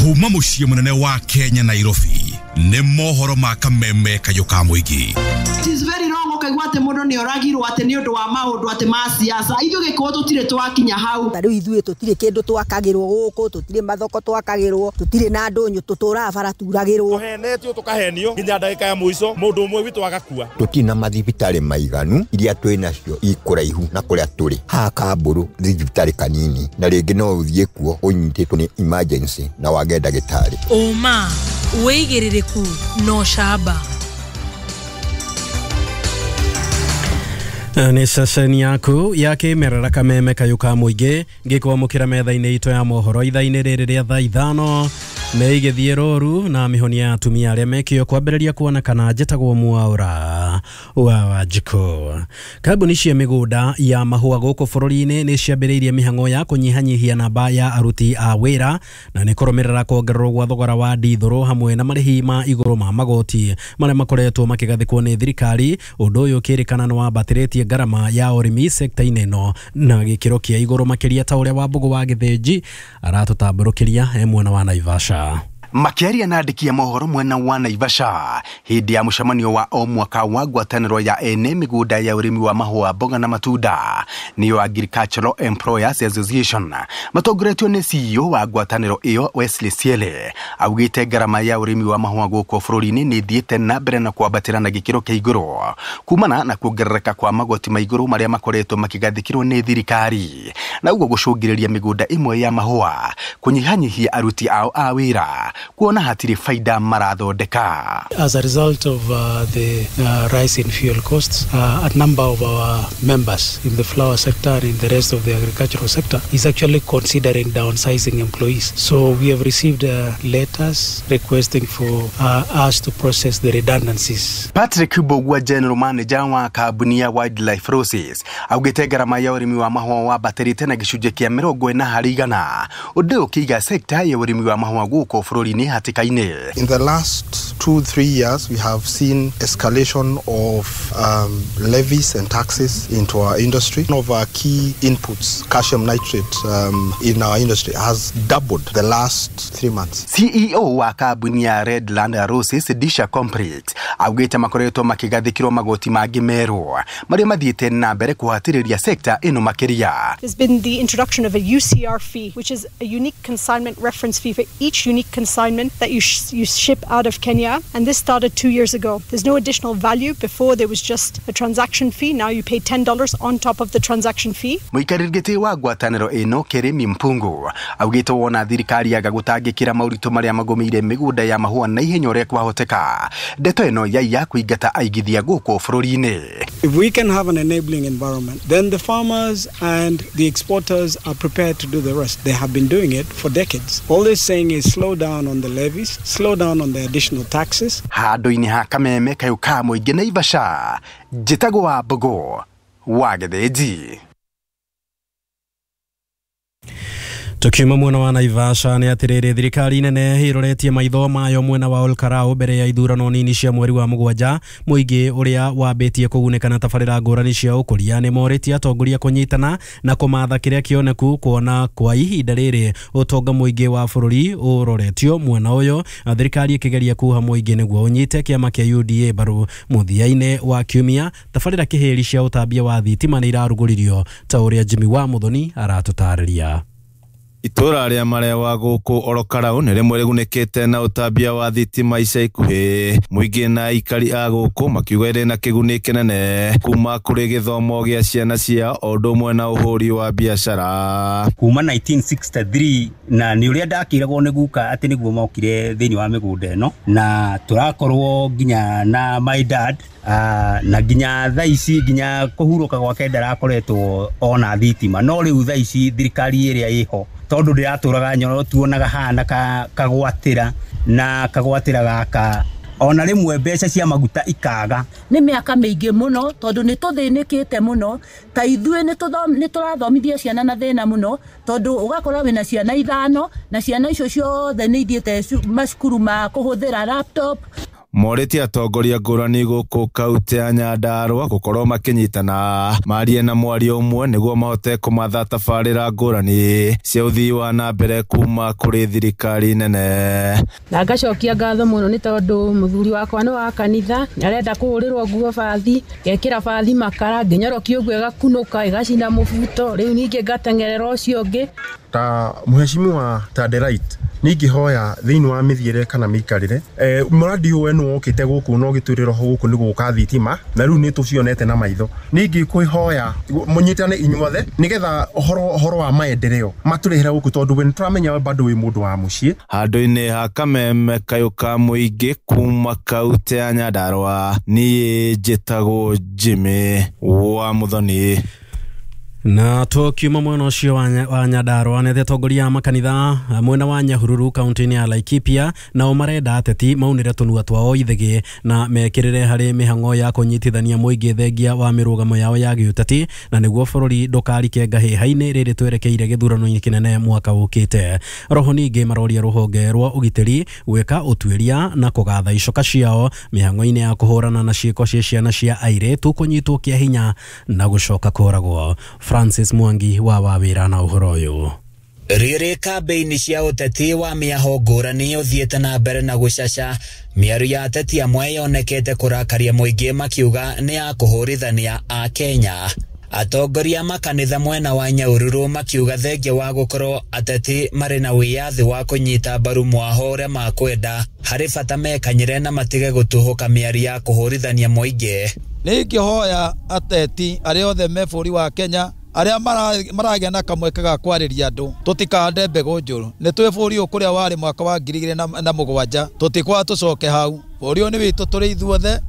Kuma mũciĩ mũnene wa Kenya, Nairobi, nĩ mohoro ma kameme kayũ ka mũingĩ. It is very wrong ũkaigua atĩ mũndũ nĩ oragirwo atĩ nĩ ũndũ wa maũndũ atĩ ma siasa. Ithuĩ Gĩkũyũ tũtirĩ twakinya hau. Ta rĩu ithuĩ tũtirĩ kĩndũ twakagĩrwo gũkũ, tũtirĩ mathoko twakagĩrwo, tũtirĩ na ndũnyũ, tũtũraga bara turagĩrwo. Tũhenetio tũkahenio nginya ndagĩka ya mũico mũndũ ũmwe witũ agakua. Tũtirĩ na mathibitarĩ maiganu, iria twĩ nacio ikũraihu na kũrĩa tũrĩ. Haha Kambũrũ thibitarĩ kanini, na rĩngĩ no ũthiĩ kuo ũnyitĩtwo nĩ emergency na wage ndagĩtarĩ. Ũma, wĩigĩrĩrĩku na ũcamba. Nĩ ceceni yaku ya kĩmerera kameme kayũ ka mũingĩ ngĩkwamũkĩra metha-inĩ itũ ya mohoro ithaa-inĩ rĩrĩ rĩa thaa 5 nĩ igĩthiĩ rũru na mĩhonia ya atumia arĩa mekĩo kwambĩrĩria kuonekana. Njĩtagwo Mwaũra wa Wanjikũ. Kambuni cia mĩgũnda ya mahũa gũkũ bũrũri-inĩ nĩ ciambĩrĩirie mĩhang'o ya kũnyihanyihia namba ya aruti a wĩra na nĩ kũrũmĩrĩra kuongererwo gwa thogora wa ndithũrũ hamwe na marĩhi ma igũrũ ma magoti marĩa makoretwo makĩgathĩkwo nĩ thirikari. Ũndũ ũyũ ũkĩrĩkana nĩ wambatĩrĩtie ngarama ya ũrĩmi sekta-inĩ ĩno na gĩkĩro kĩa igũrũ makĩria, ta ũrĩa Wambũgũ wa Gĩthĩnji aratũtambũrũkĩria e mwena wa Naivasha. Makĩaria na andĩki a mohoro mwena wa Naivasha hĩndĩ ya mũcemanio wa o mwaka wa ngwatanĩro ya ene mĩgũnda ya ũrĩmi wa mahũa, mboga na matunda, nĩyo Agricultural Employers Association, matongoretio nĩ CEO wa ngwatanĩro ĩyo Wesley Siele, augĩte ngarama ya ũrĩmi wa mahũa gũkũ bũrũri-inĩ nĩ ĩthiĩte na mbere na kwambatĩra na gĩkĩro kĩa igũrũ kumana na kuongerereka kwa magoti ma igũrũ marĩa makoretwo makĩgathĩkĩrwo nĩ thirikari, na ũguo gũcũngĩrĩria mĩgũnda ĩmwe ya mahũa kũnyihanyihia aruti ao a wĩra kuona hatirĩ faida marathondeka. As a result of the rise in fuel costs, a number of our members in the flower sector and in the rest of the agricultural sector is actually considering downsizing employees. So we have received letters requesting for us to process the redundancies. Patrick Mbugua, general manager wa kambuni ya Wildlife Roses, augĩte ngarama ya ũrĩmi wa mahũa wambatĩrĩte na gĩcunjĩ kĩa 40%, ũndũ ũyũ ũkĩiga sekta ya ũrĩmi wa mahũa gũkũ bũrũri-inĩ hatĩka-inĩ. In the last 2-3 years, we have seen escalation of levies and taxes into our industry. One of our key inputs, calcium nitrate, in our industry has doubled the last 3 months. CEO wa kambuni ya Redland Roses Disha Complete augĩte makoretwo makĩgathĩkĩrwo magoti mangĩ merũ marĩa mathiĩte na mbere kũhatĩrĩria sekta ĩno makĩria. There's been the introduction of a UCR fee, which is a unique consignment reference fee for each unique consignment that you ship out of Kenya, and this started 2 years ago. There's no additional value. Before there was just a transaction fee. Now you pay $10 on top of the transaction fee. Mũikarĩri gĩtĩ wa ngwatanĩro ĩno Keremi Mpungu augĩte wona thirikari yaga gũtangĩkĩra maũritũ marĩa magũmĩire mĩgũnda ya mahũa na ihenya ũrĩa kwahoteka, ndeto ĩno yaiya kũingata aigithia gũkũ bũrũri-inĩ. If we can have an enabling environment, then the farmers and the exporters are prepared to do the rest. They have been doing it for decades. All they're saying is slow down on the levies, slow down on the additional taxes. Handũ-inĩ ha kameme kayũ ka mũingĩ Naivasha, njĩtagwo Wambũgũ wa Gĩthĩnji. Tukiuma mwena wa Naivasha nĩ atĩrĩrĩ, thirikari nene ĩroretie maitho mayo mwena wa Olkarau mbere ya ithurano nini cia mweri wa 7. Mũingĩ ũrĩa wambĩtie kũgunĩka na tabarĩra ngũrani cia ũkũria nĩ morĩtie atongoria kũnyitana na kũmatha kĩrĩa kĩoneku, kuona kwa ihinda rĩrĩ ũtonga mũingĩ wa bũrũri ũroretio mwena ũyũ, thirikari ĩkĩgeria kuha mũingĩ nĩguo ũnyite kĩama kĩa UDA mbaru. Mũthia-inĩ wa kiumia tabarĩra kĩhĩri cia ũtambia wa thitima nĩ irarugũririo, ta ũrĩa Jimmy wa Muthoni aratũtarĩria. Itũra rĩa Marewa gũkũ Orokarau nĩ rĩmwe rĩgunĩkĩte na ũtambia wa thitima ica ikuhĩ. Mũingĩ na aikari a gũkũ makiuga ĩrĩ na kĩguni kĩnene kuma kũrĩ gĩthomo gĩa ciana ciao o ũndũ ũmwe na ũhũri wa biacara. Kuma 1963 na nĩ ũrĩa ndakĩragwo nĩ guka atĩ nĩguo mokire thĩinĩ wa mĩgũnda ĩno, na tũrakorwo nginya na my dad na nginya thaa ici nginya kũhurũka gwake ndarakoretwo ona thitima, no rĩu thaa ici thirikari ĩrĩa ĩho tondu ndiratũraga nyoro tuonaga hana kagwatĩra na kagwatĩra gaka ona rĩmwe mbeca cia maguta ikaga. Nĩ mĩaka mĩingĩ mũno tondũ nĩ tũthĩnĩkĩte mũno, ta ithuĩ nĩ tũrathomithia ciana na thĩna mũno, tondũ ũgakora wĩna ciana 5 na ciana icio ciothe nĩ ithiĩte macukuru ma kũhũthĩra laptop. Morĩtie atongoria ngũrani gũkũ kaunti ya Nyandarũa gũkorwo makĩnyitana marie na mwario ũmwe nĩguo mahote kũmatha tabarĩra ngũrani cia ũthii wa na mbere kuma kũrĩ thirikari nene. Na ngacokia ngatho mũno nĩ tondũ mũthuri wakwa nĩ wa kanitha, arenda kũhũrĩrwo nguo bathi, ngekĩra bathi makara, ngĩnyorokia ũguo ĩgakunũka ĩgacina mũbuto, rĩu ningĩ ngateng'erera ũcio ũngĩ. Ta mheshimiwa Tadelight ningĩhoya thĩinĩ wa mĩthiĩre kana mĩikarĩre mũradi ũyũ nĩ wokĩte gũkũ na ũgĩtwĩrĩra ho gũkũ nĩ gũka thitima na rĩu nĩ tũcionete na maitho. Ningĩkũhoya mũnyitane inyuothe nĩgetha ũhoro wa maendeleo matũrehere gũkũ tondũ we nĩtũramenya bado wĩ mũndũ wa mũciĩ. Handũ-inĩ ha Kameme kayũ ka mũingĩ kuma kaunti ya Nyandarũa, niĩ njĩtagwo Jimmy wa Muthoni. Na tukiuma mwena ũcio wa Nyandarũa nĩ atongoria a makanitha mwena wa Nyahururu kaunti-inĩ ya Laikipia nao marenda ateti maunĩre tũnua twao ithĩgĩ na mekĩrĩre harĩ mĩhang'o ya kũnyitithania mũingĩ thengia wa mĩrũgamo yao ya gĩũteti na nĩguo bũrũri ndũkarike ngahĩha-inĩ rĩrĩ twerekeire gĩthurano-inĩ kĩnene mwaka ũkĩte. Roho ningĩ maroria rũhonge rwa ũgitĩri gwĩka ũtuĩria na kũgatha icoka ciao mĩhang'o-inĩ ya kũhũrana na ciĩko cia ciana cia airĩtu kũnyitwo kĩa hinya na gũcoka kũragwo. Francis Mwangi wa wawira na ũhoro ũyũ. Rĩrĩ kambĩini cia ũteti wa mĩaho ngũrani ũthiĩte na mbere na gũcaca, mĩario ya ateti amwe yonekete kũrakaria mũingĩ makiuga nĩ ya kũhũrithania a Kenya. Atongoria makanitha mwena wa Nyahururu makiuga thengia wa gũkorwo ateti marĩ na wĩyathi wa kũnyita mbaru mwaho ũrĩa makwenda, harĩ bata mekanyĩre na matige gũtuhũka mĩario ya kũhũrithania mũingĩ. Nĩingĩhoya ateti arĩa othe me bũrũri wa Kenya arĩa maragĩa na kamweke ga kwarĩria andũ tũtikahande mbegũ njũru. Nĩ twĩ bũrũri ũyũ kũrĩa warĩ mwaka wa 2007 tũtikwaga tũcoke hau. Bũrũri ũyũ nĩ witũ tũrĩ ithuothe,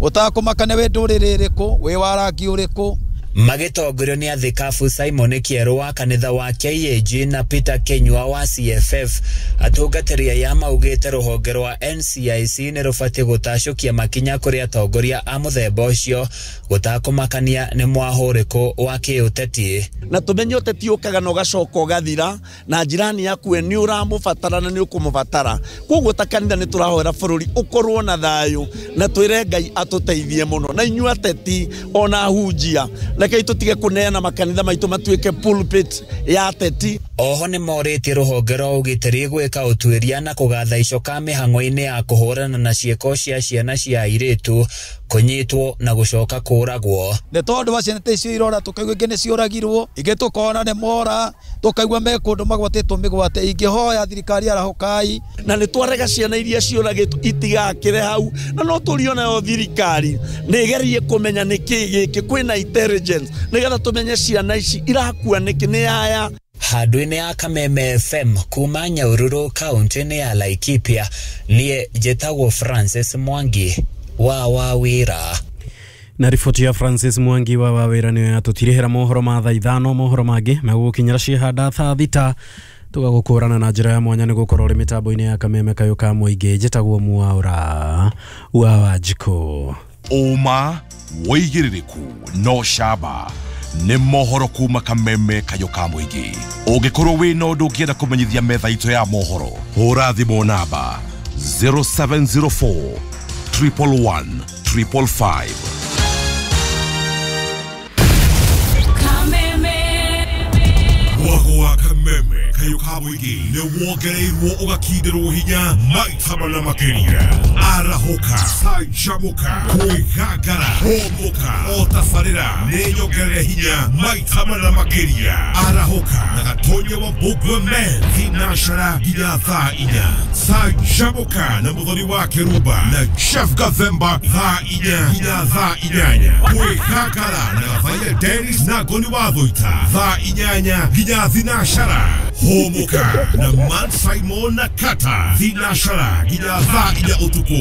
ũtakũmaka nĩ wĩ ndũrĩrĩ ĩrĩkũ, wĩ wa rangi ũrĩkũ. Magĩtongorio nĩ athikabu Simon Kĩerũ wa kanitha wa KAG na Peter Kenyua wa CFF, atungatĩri aya maugĩte rũhonge rwa NCIC nĩ rũbatiĩ gũtacũkia makinya kũrĩ atongoria a mũthemba ũcio gũtakũmakania nĩ mwaho ũrĩkũ wa kĩũteti. Na tũmenye ũteti ũkaga na ũgacoka ũgathira na njirani yaku we nĩ ũramũbatara na nĩ ũkũmũbatara. Koguo ta kanitha nĩ tũrahoera bũrũri ũkorwo na thayũ na twĩre Ngai atũteithie mũno, na inyuĩ ateti ona ahunjia rekei tũtige kũneana makanitha maitũ matuĩke pulpit ya ateti. Oho nĩ morĩtie rũhonge rwa ũgitĩri gwĩka ũtuĩria na kũgatha icoka mĩhang'o-inĩ ya kũhũrana na ciĩko cia ciana cia airĩtu kũnyitwo na gũcoka kũragwo. Nĩ tondũ wa ciana icio irora tũkaigua ingĩ nĩ ciũragirwo, ingĩ tũkona nĩ mora, tũkaigua me kũndũ magwatĩtwo mĩgwate. Ingĩhoya thirikari arahũkai. Na nĩ twarega ciana iria ciũragĩtwo itigakĩre hau, na no tũrio nayo thirikari nĩ ĩgerie kũmenya nĩkĩ gĩkĩ, kwĩna intelligence nĩgetha tũmenye ciana ici irakua nĩkĩ, nĩ aya. Handũ-inĩ ya Kameme FM kuma Nyahururu kaunti-inĩ ya Laikipia, niĩ njĩtagwo Francis Mwangi wa Wawira. Na riboti ya Francis Mwangi wa Wawira nĩyo yatũtirĩhĩra mohoro ma thaa 5. Mohoro mangĩ megũgũkinyĩra ciĩhanda thaa 6 tũgagũkũrana na njĩra ya mwanya nĩ gũkorwo ũrĩ mĩtambo-inĩ ya Kameme kayũ ka mũingĩ. Njĩtagwo Mwaura wa Wanjikũ. Ũma wĩigĩrĩrĩku no camba nĩ mohoro kuma Kameme kayũ ka mũingĩ. Ũngĩkorwo wĩna ũndũ ũngĩenda kũmenyithia metha itũ ya mohoro, hũra thimũ namba 0704 111 555. Mwago wa Kameme kayũ ka mũingĩ nĩ wongereirwo ũgakindĩrwo hinya maita mana makĩria. Arahũka, canjamũka, kwĩgangara, hũmũka, o tabarĩra nĩ nyongerere hinya maita mana makĩria. Arahũka na Gatonya wa Mbugua Men thinacara nginya thaa 4. Canjamũka na Mũthoni wa Kĩrumba na Chef Gathemba thaa 4 nginya thaa 8. Kwĩgangara na Gathaia Dennis na Ngoni wa Thũita thaa 8 nginya thinacara. Hũmũka na Man Simon na Kata thinacara nginya thaa 4 ũtukũ.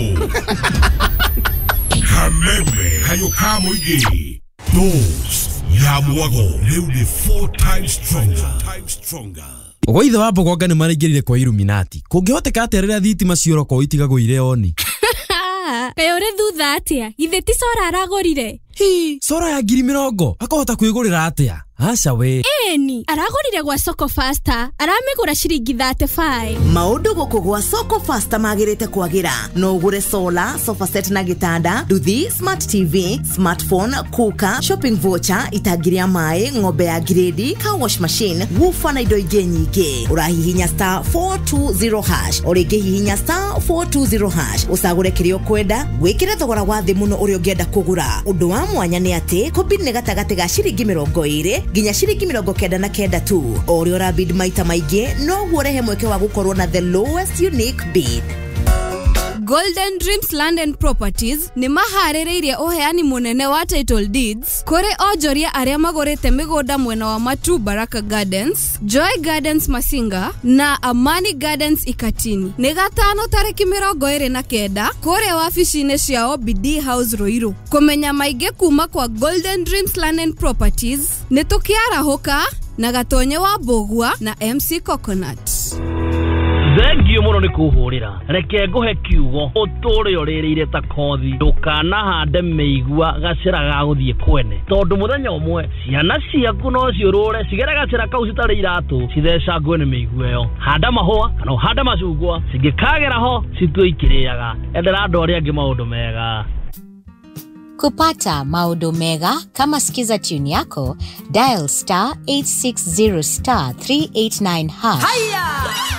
Kameme kayũ ka mũingĩ. Dose ya mwago rĩu nĩ 4 times stronger. Gwa ithe wa Mbogonga nĩ maraingĩrire kwa Illuminati. Kũngĩhoteka atĩa rĩrĩa thitima ciora kwao itigagwo irĩ oni? Kaĩ ũrĩ thutha atĩa? Githĩ ti cora aragũrire? Hi, sora ya 20,000 akũhota kwĩgũrĩra atĩa? Aca we. Ĩni, aragũrire gwa Soko Faster, aramĩgũra ciringi 35. Maũndũ gũkũ gwa Soko Faster magĩrĩte kwagĩra. No ũgũre solar, sofa set na gĩtanda, nduthi, smart TV, smartphone, cooker, shopping voucher, itangi rĩa maĩ, ng'ombe ya grade, car wash machine, woofer na indo ingĩ nyingĩ. Ũrahihinya star 420 hash, o rĩngĩ hihinya star 420 hash, ũcagũre kĩrĩa ũkwenda, wĩkĩre thogora wa thĩ mũno ũrĩa ũngĩenda kũgũra. Ũndũ wa mwanya nĩ atĩ kũbid nĩ gatagatĩ ga ciringi 20 nginya ciringi 99 tu. O ũrĩa ũrabid maita maingĩ noguo ũrehe mweke wa gũkorwo na the lowest unique bid. Golden Dreams Land and Properties nĩ maharĩrĩirie ũheani mũnene wa title deeds kũrĩ onjoria arĩa magũrĩte mĩgũnda mwena wa Matu Baraka Gardens, Joy Gardens Masinga na Amani Gardens Ikatini. Nĩ gatano tarĩki 29 kũrĩa wabici-inĩ cia OBD House Ruiru. Kũmenya maingĩ kuma kwa Golden Dreams Land and Properties nĩ tũkĩarahũka na Gatonye wa Mbũgua na MC Coconut. Thengio mũno nĩ kũhũrĩra. Reke ngũhe kiugo ũtũre ũrĩrĩire ta kothi. Ndũkanahande mĩigua gacĩra ga gũthiĩ kwene, tondũ mũthenya ũmwe ciana ciaku no ciũrũre cigere gacĩra kau citarĩ iratũ cithecangwe nĩ mĩigua ĩyo. Handa mahũa kana ũhande macungwa, cingĩkagera ho citue ikĩrĩaga. Endera andũ arĩa angĩ maũndũ mega. Kupata maũndũ mega kama Skiza tune yako, dial star 860 star 389 hash. Haya!